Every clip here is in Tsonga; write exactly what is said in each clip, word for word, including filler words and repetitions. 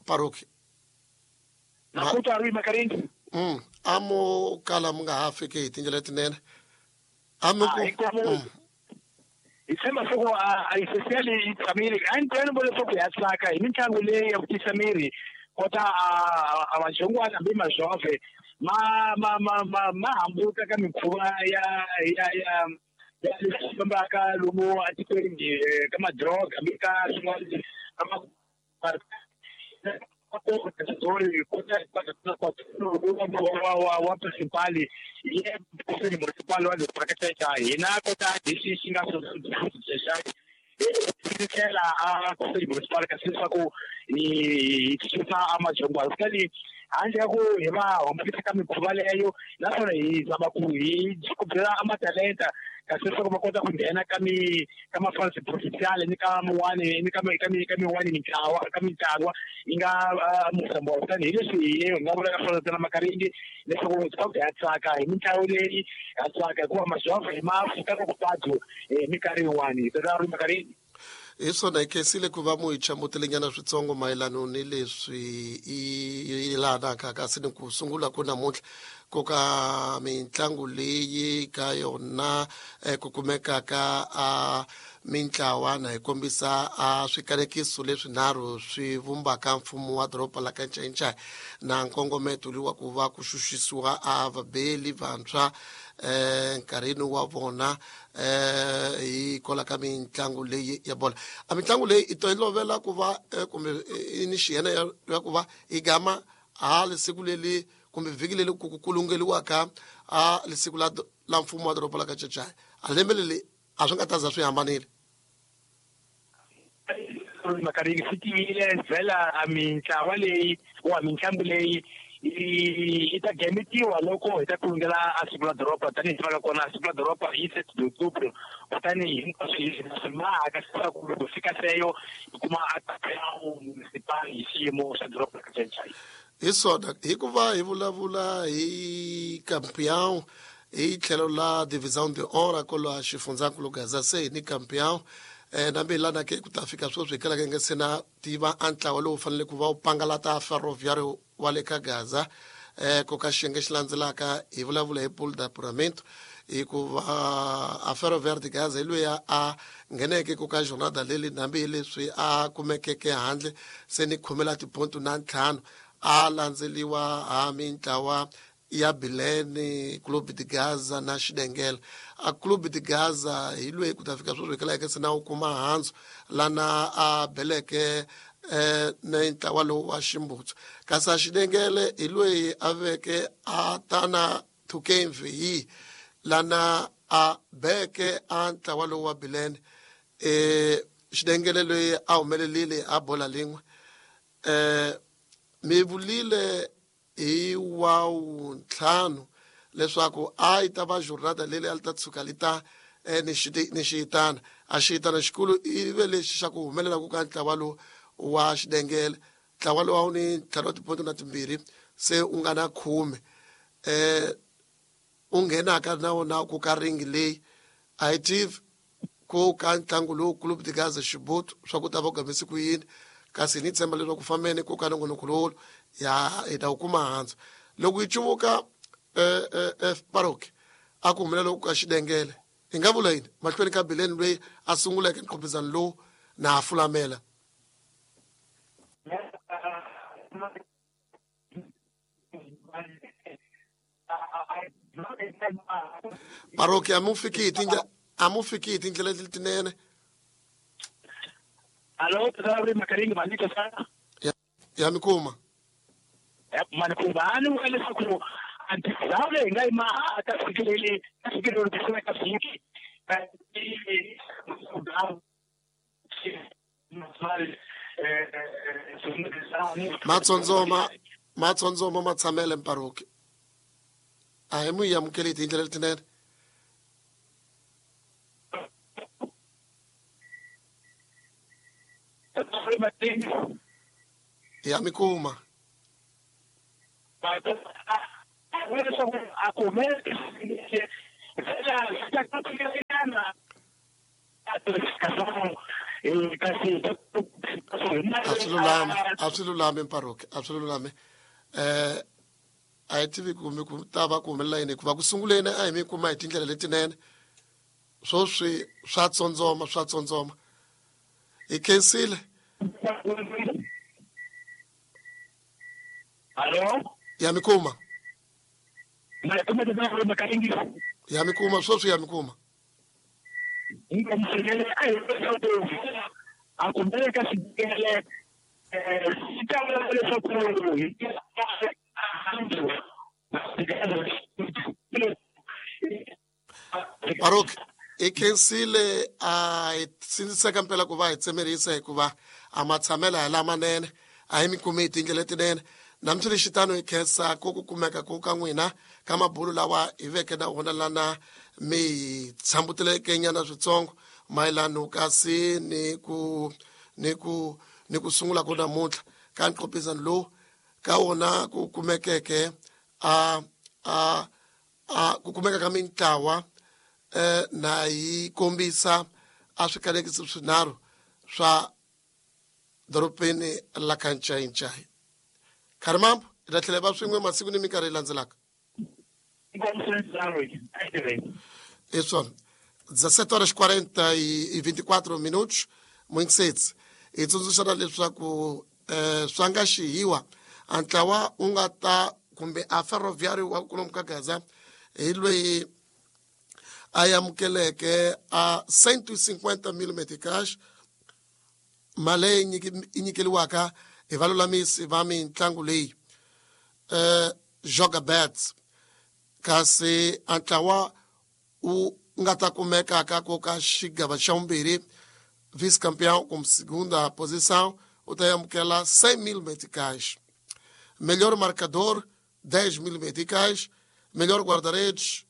Paroki mm amo kala mi nga ha fiki hi tindlela letinene amo ku hi tshemba swa ku a yi seseli yi tshamile a ni twela leswaku ya tsaka hi mitlangu leyi ya ku tisa miri kota a majongwana hambi mazhove ma ma ma ma ma hambuka ka mikhuva ya ya ya ya leswi fambaka lomu etikweni ka madroga hambi ka swin'wana ka ma wa principal ye municipal wa le hina kota lexi xi nga tlhela a municipal kasi leswaku hi susa a majongwana kutani handle ka ku hi va hambukisa ka mikhuva leyo naswona hi zama ku hi ku byela a matalenta kasi leswaku va kota ku nghena ka mi ka mafansi provincial ni ka min'wani ni ka ka mi ka min'wani mintlawa ka mintlawa yi nga musambo kutani hi leswi hi nga vulaka swona ntsena makaringi leswaku swa ku ya tsaka hi mitlangu leyi ya tsaka hikuva mazhova hi ma fika ka kupadu hi minkarhi yin'wani hi tata ri makaringi. Hi swona hi khensile ku va mu hi chamutelenyana switsongo mayelano ni leswi i yelanaka kasi ni ku sungula ku namuntlha ku ka mitlangu leyi ka yona ku kumekaka a mintlawa na hi kombisa a swikanekiso leswinharhu swi vumbaka mfumo wa doroba la ka Ncayincaya na nkongometo lowu wa ku va ku xuxisiwa a vabeli vantshwa eh nkarhini wa vona eh hi kola ka mitlangu leyi ya bola. A mitlangu leyi i tolovela ku va kumbe i ni xiyena ya ku va hi gama a lesiku leli kumbe vhiki leli ku kulungeliwaka a lesiku la la mfumo wa doroba la ka Ncayincaya a lembe leli a swi nga ta za swi hambanile. Makaringi swi tiyile vhela a mintlawa leyi wa mitlangu leyi yi ta gametiwa loko hi ta kulungela a siku la doroba tanihi tivaka kona siku la doroba hi sept d'octobre kutani hinkwaswo hi mahaka leswaku loko fika seyo hi kuma a municipal hi xiyimo xa doroba ka Ncayincaya. Hi swona hikuva hi vulavula hi campeão hi tlhelo la divisão de honra kolo xifundzankulu Gaza se ni campeão eh nambe lana ke ku ta fika sweswi hi kalaka nge se na tiva a ntlawa lowu fanele ku va wu pangalata ferroviário wa le ka Gaza eh ku ka xiyenge xi landzelaka hi vulavula hi pool d'apuramento hikuva a Ferroviário de Gaza hi loyi a ngheneke ku ka jornada leli nambe leswi a kumekeke handle se ni khomela tiponto na ntlhanu a landzeliwa ha mintlawa ya Bilene, Clube de Gaza na Xidengela. A Clube de Gaza hi loyi ku ta fika sweswi hi kalaka se na wu kuma handzu lana a beleke eh na ntlawa lowu wa Ximbutsu. Kasi a Xidengele hi loyi a veke a tana Tukemvi lana a beke a ntlawa lowu wa Bilene. Eh Xidengele loyi a humelelile a bola lin'we. Eh mi vulile hi wa ntlhanu leswaku a yi ta va jornada leli a li ta tshuka li ta ni ni xiyitana a xiyitana xikulu i ve lexi xa ku humelela ku ka ntlawa lowu wa Xidengele. Ntlawa lowu a wu ni ntlhanu wa tiponto na timbirhi se u nga na khume eh u nghenaka na wona ku ka ringi leyi a yi tivi ku ka ntlangu lowu Clube de Gaza Xibutu swa ku ta va ku gamise ku yini kasi ni tshemba leswaku fambeni ku ka nongonoko lowu ya hi ta wu kuma handzu loko yi cuvuka eh eh paroki a ku humelela ku ka Xidengele hi nga vula yini mahlweni ka Bileni loyi a sunguleke nqopizano lowu na a fulamela. Paroki a mu fiki hi tindlela a mu fiki hi tindlela letinene. Alo tata Makaringi manika sana ya ya mikuma manikumba ani vula leswaku a ndhawu leyi hi nga yi maha ka vhiki leli ka vhiki leri ku ka vhiki matsondzoma matsondzoma ma tshamele mparoki a hi mu yi amukeli hi tindlela letinene. Ya mikuma Kasi a swi lulami, a swi lulami Mparuki, a swi lulami. Eh a hi tivi kumbe ku ta va ku humelela yini, hikuva ku sunguleni a hi mi kuma hi tindlela letinene, swoswi swa tsondzoma, swa tsondzoma. Hi khensile. Hallo? Ya mi kuma. Ma kuma tata ma ka ingi. Ya mi kuma swoswi, ya mi kuma. Inga msele a hi a kumbele ka xikele eh swi ta vula leswaku hi Baruch, hi khensile. A hi sindziseka mpela ku va hi tsemerisa, hikuva a matshamelo hi lamanene, a hi mi kumi hi tindlela letinene. Namuntlha xitano hi khensa ku ku kumeka ku ka n'wina ka mabulu lawa hi veke na wona lana mi hi tshambuteleke nyana switsongo mayelano kasi ni ku ni ku ni ku sungula ku namuntlha ka nqopizano lowu ka wona ku kumekeke a a a ku kumeka ka mintlawa eh na yi kombisa a swikalekisi swinharhu swa dorobeni la ka Ncayincai. Kharimambo, hi ta tlhela va swin'we masiku ni minkarhi yi landzelaka. Hi swona, dezessete horas quarenta e vinte e quatro minutos, Muinsetsi. Hi tsundzuxana leswaku eh, swa nga xihiwa a ntlawa wu nga ta kumbe a ferroviário wa kulomu ka Gaza hi loyi a amukeleke a cento e cinquenta mil meticais, mali leyi yi nyikeliwaka hi valulamisi va mitlangu leyi eh Joga Bets. Kasi a ntlawa wu nga ta kumeka ka ku ka xigava xa vumbirhi, vice-campeão como segunda posição, u ta amukela cem mil meticais. Melhor marcador, dez mil meticais. Melhor guarda-redes,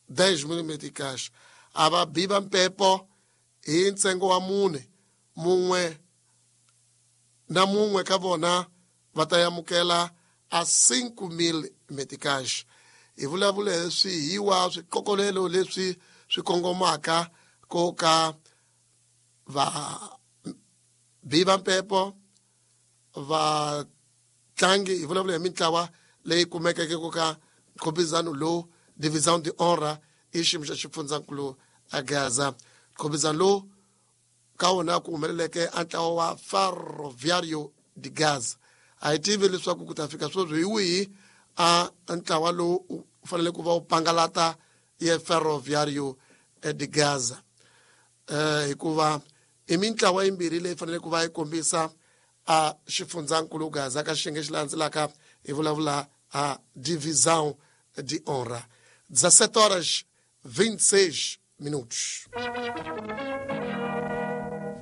dez mil meticais. A va biba mpepo hi ntsengo wa mune, mun'we na mun'we ka vona va ta amukela a cinco mil meticais. Hi vulavula hi swihiwa swikokolelo leswi swi kongomaka ko ka va biba mpepo vatlangi. Hi vulavula hi mintlawa leyi kumekeke ku ka nkhobizano lowu Divisão de Honra i xiyimo xa xifundzankulu a Gaza. Nkhobizano lowu ka wona ku humeleleke a ntlawa wa Ferroviário de Gaza. A hi tivi leswaku ku ta fika sweswi hi wihi a ntlawa lowu u fanele ku va wu pangalata ye Ferroviário de Gaza, eh hikuva i mintlawa yimbirhi leyi fanele ku va yi kombisa a xifundzankulu Gaza ka xiyenge xi landzelaka. Hi vulavula a Divisão de Honra. dezessete horas vinte e seis minutos.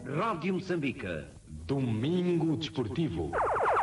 Rádio Moçambique. Domingo Desportivo.